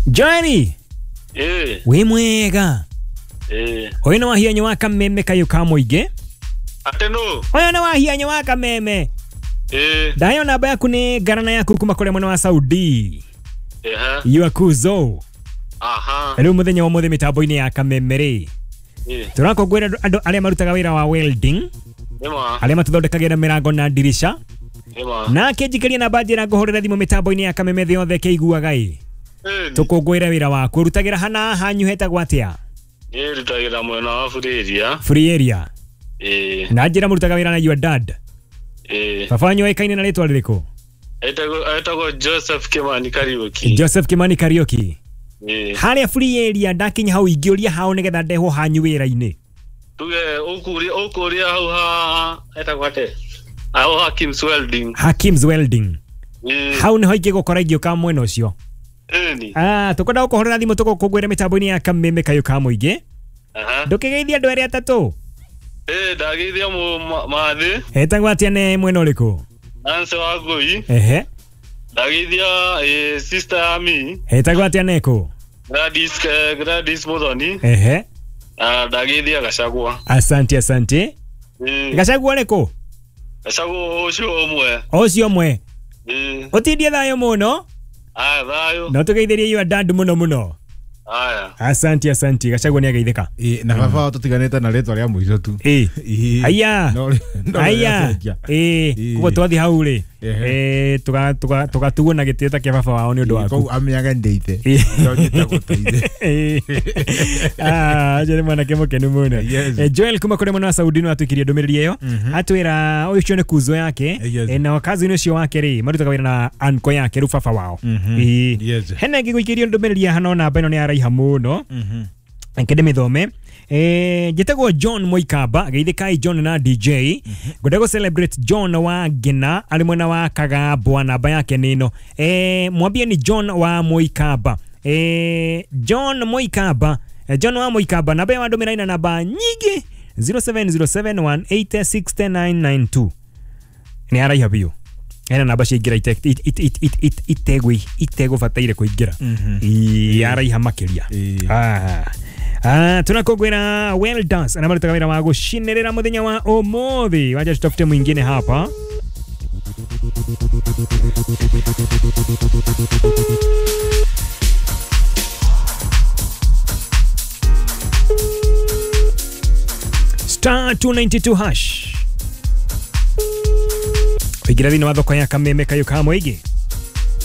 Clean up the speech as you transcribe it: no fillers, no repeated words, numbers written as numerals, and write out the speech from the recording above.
Joeli Ĩĩ. wĩ mwega? Ĩĩ. Ũyũ nĩ wahianyo wa kameme kayũ ka mũingĩ. Atĩ nũ? Ũyũ nĩ wahianyo wa kameme. Ĩĩ. Ndayo namba yaku nĩ ngarana yaku kuma kũrĩa mwena wa Saudi. Ehe. Yuakuzo. Aha. Rĩu mũthenya wa ũmũthĩ mĩtambo-inĩ ya kameme rĩ, Ĩĩ. tũrakũngũĩra andũ arĩa marutaga wĩra wa welding, Nĩma. arĩa matũthondekagĩra mĩrango na ndirica. Nĩma. Nake njikĩrie namba njĩra ngũhũrĩra thimũ mĩtambo-inĩ ya kameme thĩ yothe kĩiguaga ĩ. Ĩĩ. Tũkũngũĩre wĩra waku. Ũrutagĩra hana hanyu hetagwo atĩa? Niĩ rutagĩra mwena wa Free Area. Free Area. Ĩĩ. Na njĩra mũrutaga wĩra na your dad. Ĩĩ. Baba wanyu oĩkaine na rĩtwa rĩrĩkũ? Etagwo Joseph Kimani Kariuki. Joseph Kimani Kariuki. Ĩĩ. Harĩa Free Area ndakinya hau ingĩũria hao nĩgetha ndehwo hanyu wĩra-inĩ. Tuge ũkũria hau ha etagwo atĩa? Hau Hakim's Welding. Hakim's Welding. Ĩĩ. Hau nĩho ingĩgũkora ingĩũka mwena ũcio. Ĩni. Ah, tũkwenda gũkũhũrĩra thimũ tũgũkũngũĩra mĩtambo-inĩ ya kameme kayũ ka mũingĩ. Aha. Ndũkĩgeithie andũ erĩ atatũ. Ĩĩ, ndageithia mathĩ. Etagwo atĩa nĩ mwena ũrĩkũ? Nancy Wangũi. Ehe. Ndageithia sister ya mi. Etagwo atĩa nekũ? Gladys Muthoni. Ehe. Na ndageithia Gachagua. Asante, asante. Ĩĩ. Gachagua ũrĩkũ? Gachagua ũcio ũmwe. Ũcio ũmwe. Ĩĩ. Ũtindie thayũ mũno. Aya, thayũ. No tũgeithĩrie your dad mũno mũno. Aya. Asante, asante. Gachagua nĩ ageithĩka. Ĩĩ, na baba wao tũtiganĩte na rĩtwa rĩa mũico tu. Ĩĩ. Ĩĩ. Aya. No Aya. rĩacenjia. Ĩĩ. Ĩĩ. Koguo twathiĩ hau rĩ, Ehe. tũgatuo na gĩtĩo ta kĩa baba wao nĩ ũndũ waku. Koguo amenyaga ndĩ ithe. Ĩĩ. No njĩtagwo ta ithe. Ĩĩ. Ah, ũcio nĩ mwanake mũkenu mũno. Yes. Joel kuma kũrĩa mwena wa Saudi no atwĩkirie ndũmĩrĩri ĩyo. Atwĩra ũcio nĩ kuzo yake. Yes. Na cousin ũcio wake rĩ, marutaga wĩra na uncle yake rĩu baba wao. Ĩĩ. Yes. Hena ĩngĩ gũikĩrio ndũmĩrĩri haha no namba ĩno nĩ yaraiha mũno. Reke ndĩmĩthome. Njĩtagwo John Moikamba, geithĩkai John na DJ. Ngwenda gũ celebrate John wa Ngina arĩ mwena wa Kagambwa, namba yake nĩ ĩno. Mwambie ni John wa Moikamba. John Moikamba, John wa Moikamba, namba ya wandũmĩra ina namba nyingĩ 0707186992. Nĩ araiha biũ. Ena namba ciaingĩra itegũbataire kũingĩra. Ĩĩ, araiha makĩria. Ĩĩ. Ah. Ah, tunakogwera well dance na marutaga wĩra wa gũcinĩrĩra mũthenya wa ũmũthĩ. Wacha tutafute mwingine hapa. Star 292 hash. Ũingĩra thĩinĩ wa thoko ya kameme kayũ ka mũingĩ.